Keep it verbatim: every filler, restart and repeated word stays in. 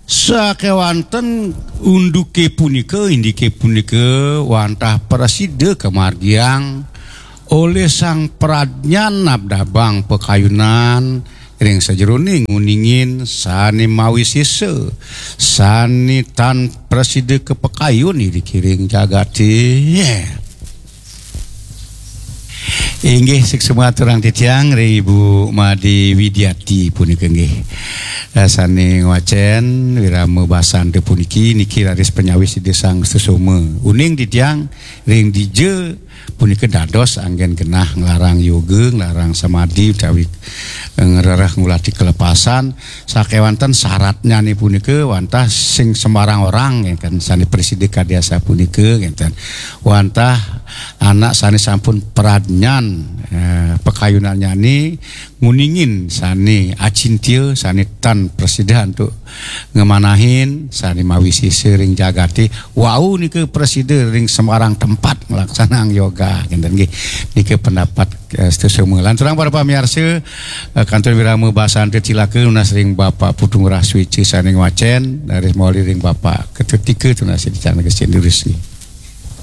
Sakéwanten unduké punika, indiké punika wantah prasida kamargiang olih Sang Pradnyan nabdabang pakayunan ring sajeroning nguningin sané mawisésa, sané tan prasida kapakayun indiké ring jagaté. Inggih, suksma aturang titiang ring Ibu Madé Widiati punika nggih. Eh, sané ngwacén wirama basanta puniki, niki raris panyawis Ida Sang Susuma. Uning titiang ring dija punika dados anggén genah nglarang yoga, nglarang samadi utawi ngrereh ngulati kalepasan, sakéwanten syaratnyané punika wantah sing sembarang orang, ya kan, sané prasida kadi asapunika, ngénten. Wantah anak sané sampun pradnyan, eh, pakayunannyané nguningin sané acintya, sané tan prasida antuk ngamanahin, sané mawisésa ring jagaté, wau nika prasida ring sembarang tempat nglaksanang yoga, ngénten nggih. Nika pendapat, eh, Sta Soma. Lanturang para pamiarsa, eh, kantun wirama basanta cilaka nunas ring Bapak Putu Ngurah Swéca sané ngwacén, raris mawali ring Bapak Ketut Tika tunas ring Candra Gesti Lurus nggih.